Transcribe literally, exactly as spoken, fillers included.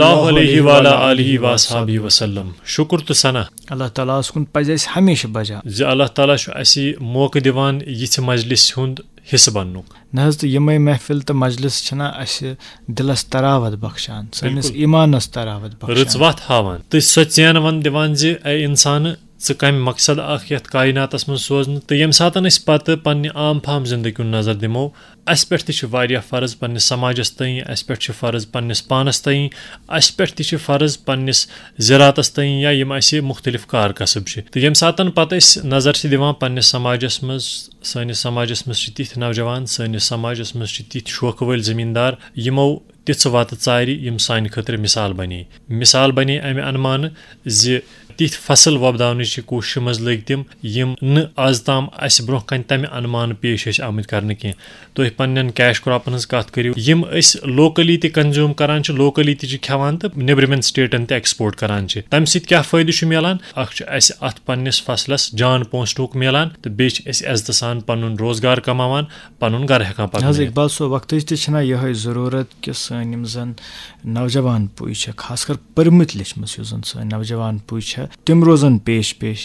اللہ علیہ وعلی آلہ واصحابہ وسلم۔ شکر تہٕ ثنا۔ اللہ تعالیٰ ہس کُن پزِ اسہِ ہمیشہٕ بجا۔ زِ اللہ تعالیٰ چھُ اسہِ موقعہٕ دِوان یِژھِ مجلس ہُنٛد حصہٕ بننُک۔ نہ حظ، تہٕ یِمے محفل تہٕ مجلس چھِنہ اسہِ دلس تراوت بخشان، سٲنِس بِلکُل۔ ایمانس تراوت بخشان۔ رٕژ وتھ ہاوان تہٕ سۄ ژینوان دِوان زِ اے انسانہٕ، ژٕ کمہِ مقصد اکھ یتھ کائناتس منٛز سوزنہٕ۔ تہٕ ییٚمہِ ساتن أسۍ پتہٕ پننہِ عام فام زندگی کُن نظر دِمو، اسہِ پٮ۪ٹھ تہِ چھِ واریاہ فرض پننِس سماجس تٲنۍ، اسہِ پٮ۪ٹھ چھِ فرض پننِس پانس تٲنۍ، اسہِ پٮ۪ٹھ تہِ چھِ فرض پننِس زِراتس تٲنۍ، یا یِم اسہِ مختلف کار کسب چھِ۔ تہٕ ییٚمہِ ساتن پتہٕ أسۍ نظر چھِ دِوان پننِس سماجس منٛز، سٲنِس سماجس منٛز چھِ تِتھۍ نوجوان، سٲنِس سماجس منٛز چھِ تِتھۍ شوقہٕ وٲلۍ زٔمیٖندار، یِمو تِژھٕ وتہٕ ژارِ، یِم سانہِ خٲطرٕ مثال بنے۔ مثال بنے امہِ انمانہٕ زِ تِتھۍ فصل وۄپداونٕچہِ کوٗششہِ منٛز لٔگۍ تِم، یِم نہٕ از تام اسہِ برونٛہہ کنہِ تمہِ انمانہٕ پیش ٲسۍ آمٕتۍ کرنہٕ کینٛہہ۔ تُہۍ پننٮ۪ن کیش کراپن ہٕنٛز کتھ کٔرِو، یِم أسۍ لوکلی تہِ کنزیوم کران چھِ، لوکلی تہِ چھِ کھٮ۪وان تہٕ نیبرِمٮ۪ن سٹیٹن تہِ ایکسپورٹ کران چھِ۔ تمہِ سۭتۍ کیٛاہ فٲیدٕ چھُ میلان؟ اکھ چھُ اسہِ اتھ پننِس فصلس جان پونٛسہٕ ٹوٗک میلان تہٕ بیٚیہِ چھِ أسۍ عزتہٕ سان پنُن روزگار کماوان، پنُن گرٕ ہٮ۪کان نہ حظ پکنٲیِتھ۔ اقبال صٲب، وقتٕچ تہِ چھنہ یِہے ضروٗرت کہِ سٲنۍ یِم زن نوجوان پُے چھِ، خاص کر پٔرمٕتۍ لیٚچھمٕژ یُس زن سٲنۍ نوجوان پُے چھِ، تِم روزن پیش پیش۔